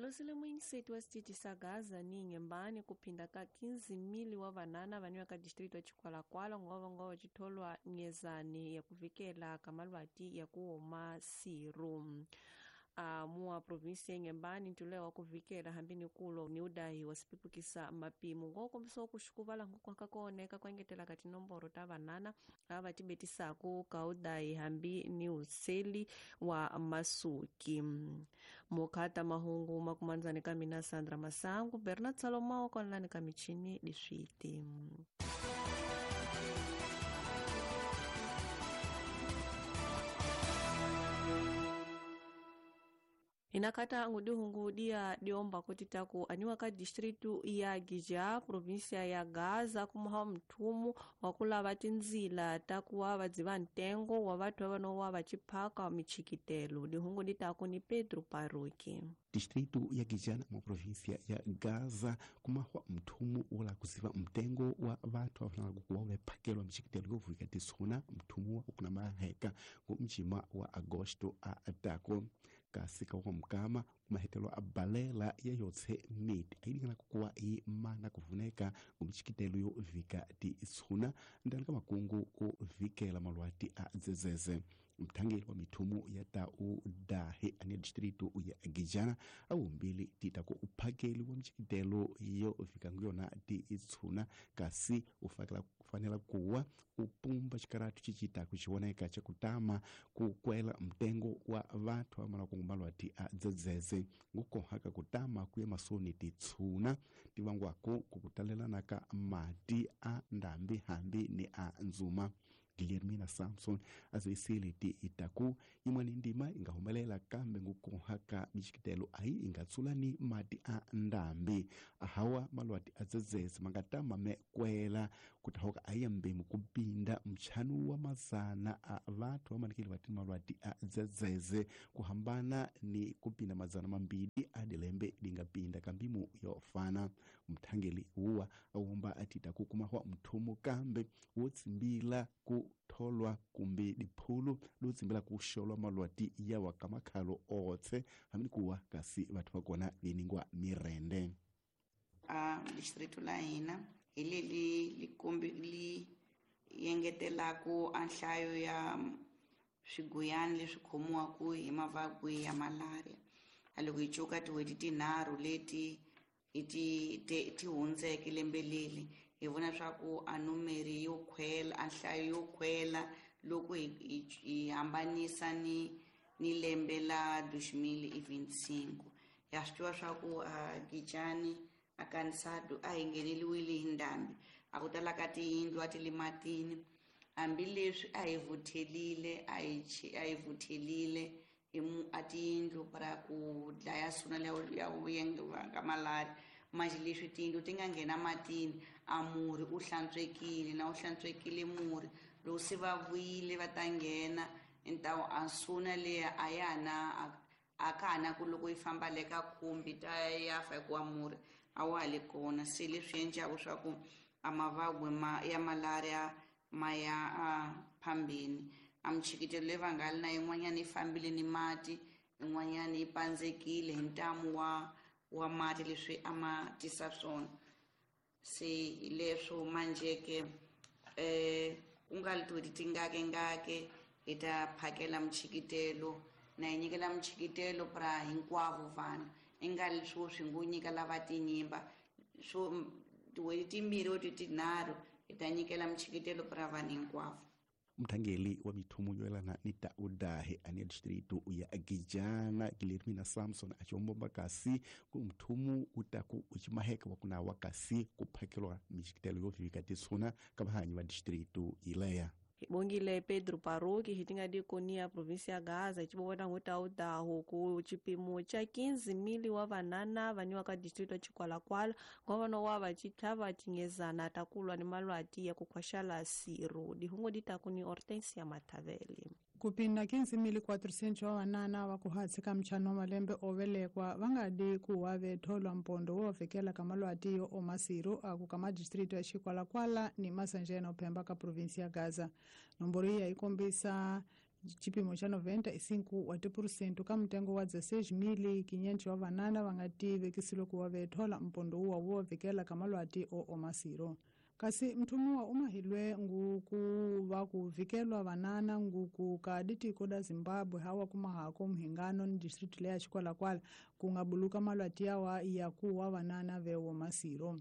Hilosile muingiseti wa xitichi xa Gaza ni Inhambane kuphinda ka 15,000 wa vanana vaniwa ka distrito ya Chikwalakwala ngova chitholwa nyezani ya kuvikela ka malwati ya kuoma siru. Mua provinsia ya Inhambane ntulewa wa kuvikela hambini kulo ni udahi wa sipipukisa mapimo ngokombiso kuxukuvala nkukwaka kooneka kuengetela ka tinomboro ta vanana ava tibetisaku ka udahi hambi ni useli wa masuki. Mukhata mahungu makumandzani ka mina Sandra Masangu, Bernard Salomao konlani ka michini diswiti. Inakata ngudihungu dia diomba kutitaku aniwa ka distritu ya Gija, provinsia ya Gaza, kumuha mthumu wa kulava tinzila takuwa vadziva ntengo wa vathu vanowa vachiphaka michikitelo. Dihungu ditaku ni Pedro Paruki. Distrito ya Gijana mu província ya Gaza kumahwa mthumu wola kuziva mtengo wa vathu afanala kuwa vephakelwa michikitelo yovulika tisuna mthumu wa ukuna maheka ku mjima wa Agosto a atako kasi ka wa mukama kumahetelo a balela ya yotse miti ayilingana kukuwa i mana kuvuneka ku michikitelo yo vika tisuna ndani ka makungu o vikela malwati a dzedzeze. Mthangeli wa mithumu ya tau dahe ane distrito ya Gijana awumbili tita ku uphakeli wa michikitelo yo fika nguyona ti itshuna kasi ufanela kuwa upumba xikaratu cicita kuxioneka xa kutama ku kwela mtengo wa vathu vamala kungumalwati a dzedzeze ngukohaka kutama kuya masoni titshuna tivangwako kukutalelana ka mati a ndambi hambi ni a nzuma. Guilhermina Samson aziwisile ti itaku imwani ndima ingahumelela kambe ngukohaka michikitelo ayi ingatsulani mati a ndambi ahawa malwati adzedzeze mangatama mekwela kutahoka ayambemu kupinda mchanu wa mazana a vathu vamanikile vatini malwati a dzedzeze kuhambana ni kupinda mazana mambili adilembe lingapinda kambimu yofana. Mthangeli uwa awumba atitaku kumahwa mthumu kambe wotsimbila ku tholwa kumbe diphulu lotsimbela kuxolwa malwati yawa ka makhalo otse hambi kuwa kasi vathu va kona viningwa mirende. A distrito la hina hi leli likombi li yengetelaku a nhlayo ya swiguyani leswi khomiwaku hi mavabyi ya malaria. A loko hi cuka tin'hweti tinharhu leti hi ti hundzeke lembe leli hi vona swa ku a numeri yo khwela, a nhlayo yo khwela loko hi hambanisa ni lembe la 2025. Ya swi tiva swa ku a Gijani a Kansado a hi ngheneliwile hi ndhambi, a ku tala ka tiyindlu a ti le matini, hambileswi a hi vuthelile a hi vuthelile hi a tiyindlu para ku dlaya suna ya ka malaria. Manje leswi tiyindlu ti nga nghena matini a murhi u hlantswekile na u hlantswekile murhi loko se va vuyile va ta nghena ntawu a suna leya a ya na a ka ha na ku loko yi famba le ka khumbi ta ya fa hikuva murhi a wa ha le kona. Se leswi endlaku swa ku a mavabyi ya malaria ma ya a phambeni. A michikitelo leyi va nga li na yin'wanyana yi fambile ni mati, yin'wanyana yi pandzekile hi ntamu wa mati leswi a ma tisa swona. Se hi leswo manjeke ku nga li tin'hweti tingakengake hi ta phakela michikitelo na hi nyikela michikitelo pra hinkwavo vanhu i nga li swo swi ngo nyika lava tinyimba swo tin'hweti timbirhi or tinharhu hi ta nyikela michikitelo pra vanhu hinkwavo. Mthangeli wa mithumu yo yelana ni ta udahe ane distrito ya Gijana Guilhermina Samson achombomba kasi ku mthumu utaku uchimaheka wa kunawa kasi kuphakelwa michikitelo yo vivika tisuna ka vahanyi va distrito ileya. Bongile Pedro Paruki hitinga dikonia provinsia ya Gaza chibona hutaudaho ku chipimo cha 15,000 wa vanana vaniwa ka distrito ya Chikwalakwala govano wa vachitlhava chinyezana takulwa ni malwati ya kukhwaxala siru. Dihungu ditaku ni Hortensia Mataveli. Kupinda 15,400 wa vanana va kuhatsi ka mchano wa malembe ovelekwa va nga di kuwa vetholwa mpondo wo vekela ka malwati yo oma siru aku ka madistrito ya Chikwalakwala ni Masanjena uphemba ka provinsi ya Gaza. Nomboro iyi yi kombisa Chipimo cha 95 wa tipurusento ka mtengo wa 16,500 wa vanana va nga tivekisile ku wa vethola mpondo wuwa wo vhikela ka malwati o omasiro. Kasi mthumiwa umahilwe nguku va ku vhikelwa vanana nguku ka ditiko da Zimbabwe hawa kumahako mhingano ni district leya Chikwalakwala ku nga buluka malwati yawa ya kuwa vanana vewo masiro.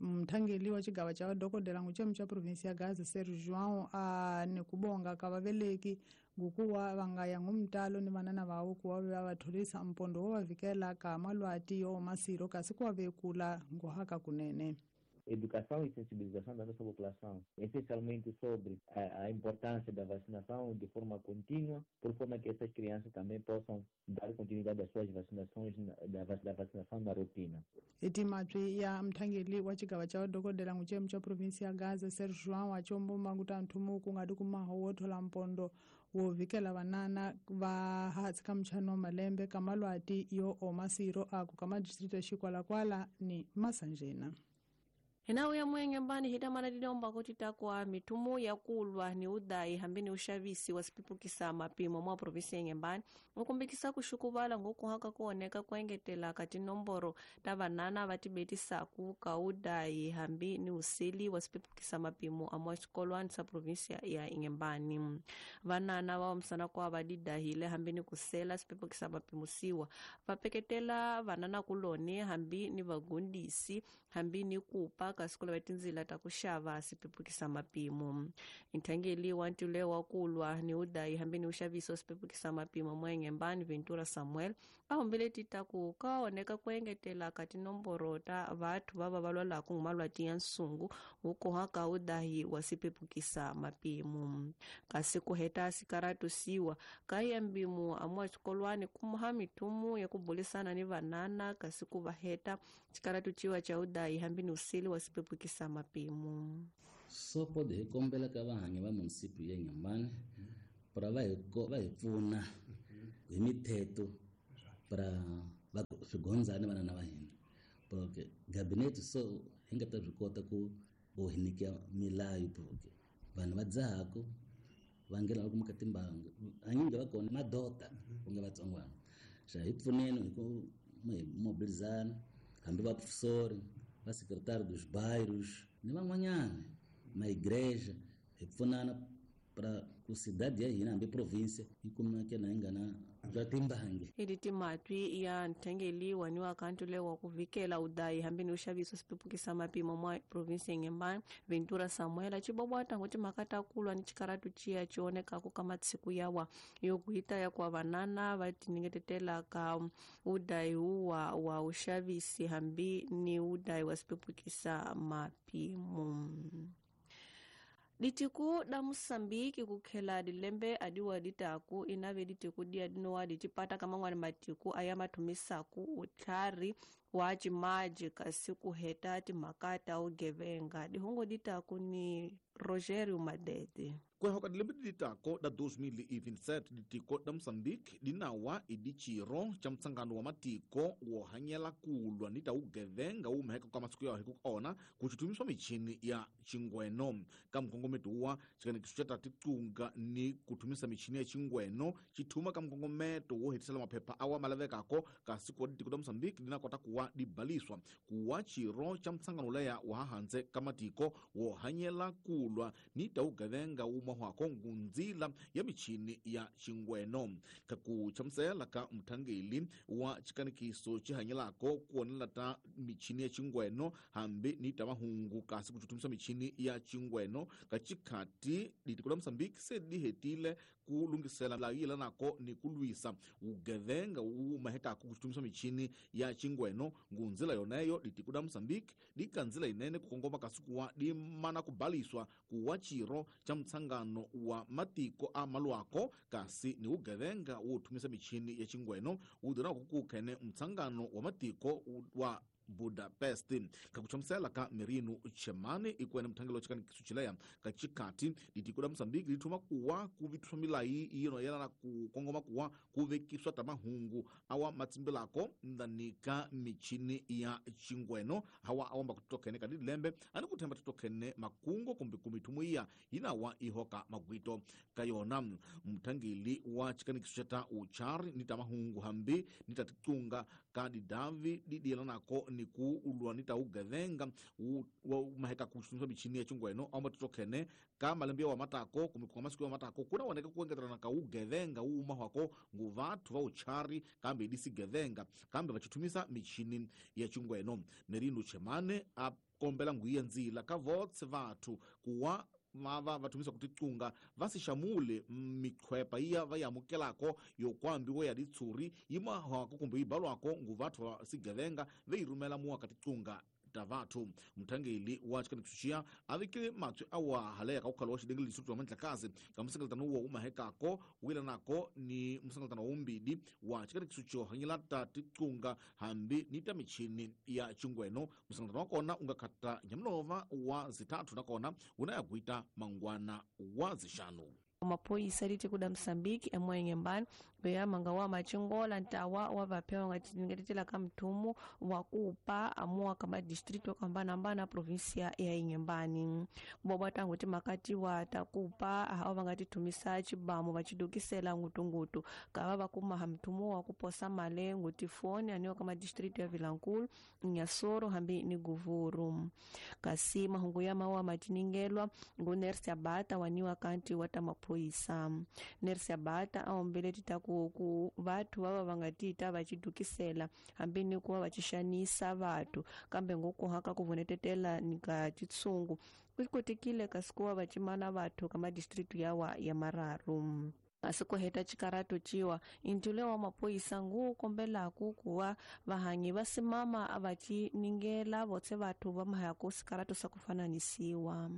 Mthangeli wa xigava xa vadokodela nguchemu xa provinsi ya Gaza Sergio João a ni kubonga ka vaveleki ngukuwa va nga ya ngumtalo ni vanana vawo kuwa va va tholisa mpondo wo va vhikela ka malwati yo masiro kasi kuwa vekula nguhaka kunene. Educação e sensibilização da nossa população, essencialmente sobre a importância da vacinação de forma contínua, por forma que essas crianças também possam dar continuidade às suas vacinações, da vacinação na rotina. Etimatwi ya mthangeli wa xigava xa vadokodela nguchemu xa provinsi ya Gaza Sergio João achombuma kuta nthumu ku nga tikumaho wo thola mpondo wo vhikela vanana va hatsi ka mchano wa malembe ka malwati yo omasiro aku ka madistrito ya Xikwalakwala ni Masanjena. Hinawu ya mwenge mbani hitamana dilomba kuti takwa mitumu ya kulwa ni udai hambi ni ushavisi wasipipukisa mapimo mwa provinsi ya Inhambane ukumbikisa kuxukuvala ngokuhaka kuoneka kuengetela ka tinomboro ta vanana va tibetisaku ka udai hambi ni useli wasipipukisa mapimo amwa xikolwani sa provinsi ya Inhambane. Vanana va wamisana kwa va didahile hambi ni kusela sipipukisa mapimo siwa va peketela vanana kuloni hambi ni vagundisi hambi ni kupa kasi kulava tindzila ta ku xava sipepukisa mapimo. Nthangeli wa ntule wa kulwa ni udai hambi ni uxaviso sipepukisa mapimo mwa Inhambane Ventura Samuel a humbile tita ku ka oneka ku engetela ka tinomboro ta vathu va va lwalaku hi malwati ya nsungu wu kohaka udahi wa sipepukisa mapimo. Kasi ku heta sikaratu siwa ka ya mbimu amwa xikolwani kumuha mitumu ya ku bulisana ni vanana kasi ku va heta xikaratu ciwa cha udahi hambi ni useli wa sipepukisa mapimo. So pode hikombela ka vahanyi va municipio ya Inhambane para va hi pfuna hi mithetho para va swigondzani vanana va hina, porque gabinete so hi nga ta swi kota ku hi nyika milayo, porque vanhu va dzahaku va nghena va kumeka timbangu hanyingi va kona madota ku nga vatsongwana. Xa hi pfuneni hi ku hi mobilizana hambi va professori va secretário dos bairros ni van'wanyana ma igreja hi pfunana para ku cidade ya hina hambi province yi kumeke na yi nga na bya timbangi. Ili timatwi ya nthengeli wani wa kantu wa ku vikela udayi hambi ni uxaviso sipepukisa mapimo mwa province ya Inhambane Ventura Samuel acibobwata ngoti makata kulwa ni xikaratu ciya cionekaku ka matsiku yawa yokuita ya kwa vanana va tiningetetela ka udayi huwa wa uxavisi hambi ni udayi wa sipepukisa mapimo. Ditiku da Mosambiki kukhela dilembe adiwa ditaku inave ditiku dia dinowa ditipata kamangwani matiku aya mathumisaku utlhari wa cimaji kasi kuheta timhaka ugevenga dihungu ditaku ni Rogério Madede. Kuehoka dilembe ditako da 2027 ditiko da Mosambiki dinawa idiciro cha mtsangano wa matiko wo hanyela kulwa ni ta ugevenga umheka kwa masiku yawo hiku ona kuchitumiswa michini ya chingweno ka mkongometo wa chikanekiso cha taticunga ni kuthumisa michini ya chingweno chithuma ka mkongometo wo hetisela maphepha awa malavekako kasi kuwa ditiko da Mosambiki dinakota kuwa dibaliswa kuwa chiro cha mtsangano leya wa hahanze ka matiko wo hanyela kulwa ni ta ugevenga umahwako ngunzila ya michini ya chingweno kakuchamusela ka mthangeli wa chikanikiso chihanyelako kuonela ta michini ya chingweno hambi ni ta mahungu kasi kuchutumisa michini ya chingweno kachikhati ditiko la Mosambiki se dihetile kulungisela la yelanako ni kulwisa ugevenga umahekako kuchutumisa michini ya chingweno ngunzila yoneyo ditiko la Mosambiki dikanzila inene kukongoma kasi kuwa dimana kubaliswa kuwa chiro cha mtsangano wa matiko a malwako kasi ni ugevenga wothumisa michini ya chingweno udhirako kukhene mtsangano wa matiko wa Budapest. Ka kuchamusela ka Merino Chemane ikwene mthangelo chikani kisuchileya ka chikati ditiko la Mozambique lithuma kuwa kuvithwa milayi yino yelana ku kongoma kuwa kuvekiswa tamahungu awa matsimbilako ndanika michini ya chingweno hawa awamba kutokene ka dilembe ani kuthemba titokene makungo kumbe kumithumu iya yinawa ihoka magwito ka yona. Mthangeli wa chikanikiso cha ta uchari ni tamahungu hambi ni taticunga ka didavi didiyelanako ni ku ulwa ni taugevenga maheka kuxumisa michini ya chingweno awamba titokhene ka malembe wa matako kumbe kwa masiku ya matako kuna woneka kuengetelana ka ugevenga uuma hwako ngu vathu va uchari kambe idisigevenga kambe vachithumisa michini ya chingweno. Merino Chemane a kombela nguiya ndzila ka votse vathu kuwa vava vathumisa kuticunga vasixamule mikhwepa iya va yamukelako yokwambiwa ya ditshuri yimahwako kumbe yibalwako ngu vathu va sigevenga veyirumela muwa ka ticunga ta vathu. Mthangeli wa chikanikiso a vekile matswi awa haleka ka ukhalo wa xidengele lisutu wa mandlakazi ka musengeletano wo umahekako wilanako ni musengeletano wa umbidi wa chikanikiso xo hanyela ta ticunga hambi ni ta michini ya chingweno. Musengeletano wa kona unga khata nyamulova wa zithathu nakona wuna ya kuita mangwana wa zixanu. Maphoyisa litiko da Mozambique emwenyembani veyamanga wa machingola ntawa wa vaphewa ngatetela ka mthumu wa kupa amuwa ka madistrito yo hambanahambana provinsia ya Inhambane. Kuboba tangu timakati wa takupa awo vangatithumisa chibamu vachidukisela ngutungutu kava vakumaha mthumu wa kuposa male ngutifoni aniwa ka madistrito ya Vilankulu, Inhassoro hambi ni Guvuru. Kasi mahungu ya mawa matiningelwa ngu Nersia Bata waniwa kanti wa tamaphoyisa. Nersia Bata aombele titaku ku vathu vava vangatita vachidukisela hambi ni kuva vachixanisa vathu kambe ngokuhaka kuvunetetela nika chitsungu kwikotekile kasi kuva vachimana vathu ka madistritu yawa ya mararu. Kasi kuheta chikarato chiwa intule wa maphoyisa ngu kombelaku kuva vahanyi va simama vachiningela votse vathu va mahaku sikarato sa kufananisiwa.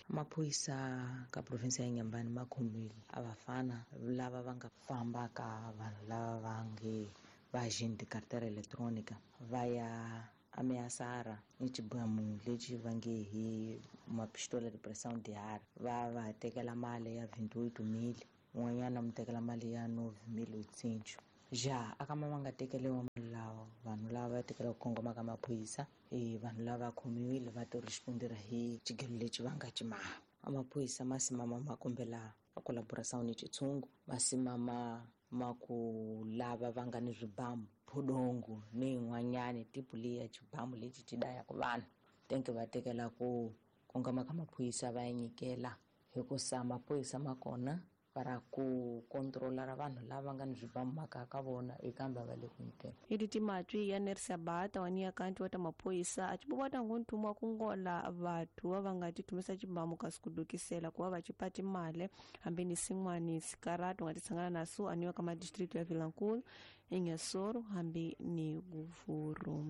Maphoyisa ka province ya Inhambane ma khomile a vafana lava va nga famba ka vanhu lava va nge va agent carteira electronica va ya ameaçar ni xibamu lexi va nge hi mapistola de pressão de ar va va tekela mali ya 28,000 un'wanyana mu tekela mali ya 9,800 ja akama va nga tekeliwa mali lawa vanhu lava va tekela ku kongoma ka maphorisa vanhu lava khomiwile va to respondera hi xigelo lexi va nga cimaha. Amaphorisa ma simama ma kombela a collaboração ni xitshungu ma simama ma ku lava va nga ni swibamu phodongo ni yin'wanyani tipu leya xibamu lexi xi dayaka vanhu tenke va tekela ku kongoma ka maphorisa va ya nyikela hikusa maphorisa ma kona para ku controlar vanhu lava nga ni swibamu makaya ka vona ekambe va le ku nyikela. Iti matwi ya Nersia Bata waniya kanti wa ta maphoyisa a chibobata ngu nthumu wa kungola vathu va va nga tithumisa xibamu kasi kudukisela kuva va chipa timale hambi ni sin'wani sikarato nga titshangana naso aniwa ka madistritu ya Vilankulu, Inhassoro hambi ni Guvuru.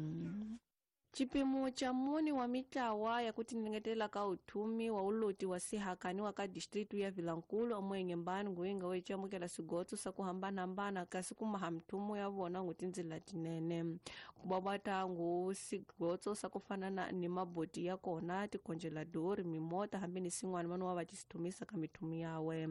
Chipimo cha muni wa mitlawa ya kutiningetela ka uthumi wa uloti wa sihakani wa ka distritu ya Vilankulu omwenyembani nguinga wechamukela sigotso sa kuhambanahambana kasi kumaha mthumu ya vona ngu tindzila tinene kubabata ngu sigotso sa kufanana ni maboti ya kona tikonjeladori mimota hambi ni sin'wana vanu wa va tisithumisa ka mithumu yawe.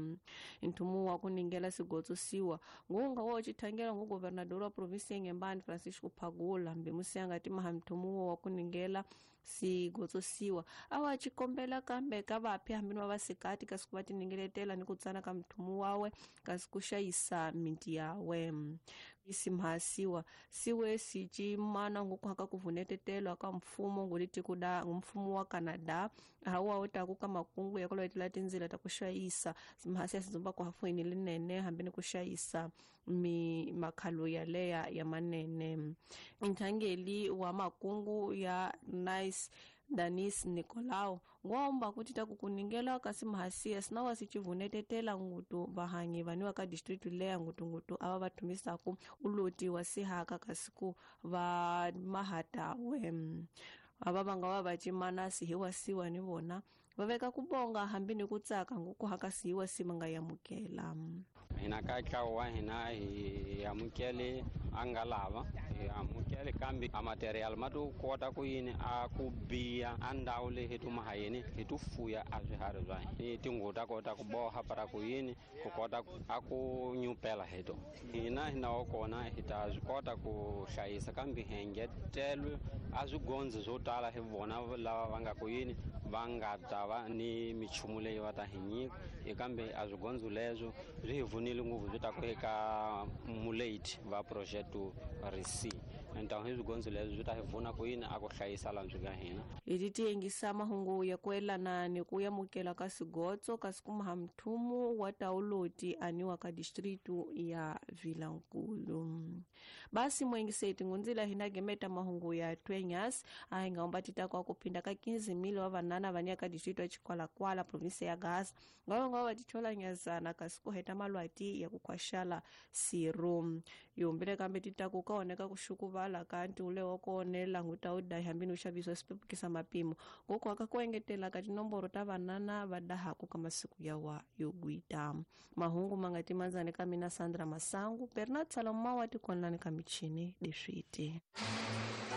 Nthumu wa kuningela sigotso siwa ngunga wo chithangela ngu governador wa provinsi ya Inhambane Francisco Phagula hambi musiyanga timaha mthumu wa kuningela sigotso siwa awa chikombela kambe ka vaphi hambi ni vavasikati kasi ku va tiningeletela ni ku tsana ka mthumu wawe kasi ku xayisa minti yawe. Isimhasiwa siwe sichimana ngukuhaka kuvunetetelwa ka mfumo ngulitikuda mfumo wa Canada hawa utaku ka makungu ya kuloetela tindzila ta ku xayisa simhasi ya sizumba ku hafuini linene hambi ni ku xayisa mi makhalo yaleya ya manene. Nthangeli wa makungu ya Nice Danis Nicolau ngomba kuti takukuningela kasi mhasiya sinawa sichivunetetela ngutu vahanyi vaniwa ka district leya ngutungutu ava vathumisaku uloti wa sihaka kasi ku va mahatawe ava vanga va vacimana sihiwasiwa ni vona va veka ku bonga hambi ni ku tsaka ngukuhaka sihiwasi va nga yamukela. Hina ka ntlawa wa hina hi amukele a nga lava hi amukele kambe a material ma to kota ku yini a ku biya a ndhawu leyi hi tuma ha yini hi to fuya a swiharhi swa hina ni tinghuvu ta kota ku boha para ku yini ku kota a ku nyupela hi to hina hi na wa kona hi ta swi kota ku hlayisa kambe hi engetelwe a swigondzi swo tala hi vona lava va nga ku yini va nga ta va ni michumu leyi va ta hi nyika kambe a swigondzo leswo swi hi pfunile ngopfu swi ta ku eka mulate va projeto rec ntawu hi swigondzo leswo swi ta hi pfuna ku yini a ku hlayisa laha swi ka hina. Hi ti tiyengisa mahungu ya ku elana ni ku yamukela ka sigotso kasi kumaha mthumu wa tauloti aniwa ka distritu ya Vilankulu. Basi mwengiseti ngunzila hina gemeta mahungu ya twenyas a hi nga umba tita kwa kuphinda ka 15,000 wa vanana vania ka distritu ya Chikwalakwala provinsi ya Gaza ngava va tichola nyazana kasi ku heta malwati ya ku khwaxala siru yombile kambe titaku ka oneka ku xukuvala ka ntiule wa kone languta u dahi hambi no xavisiwa swipepukisa mapimo ngoko aka ku engetela ka tinomboro ta vanana va dahaku ka masiku yawa yo gwita. Mahungu ma nga timandzani ka mina Sandra Masangu, Bernard Salomao wa tikonlani ka michini leswiti.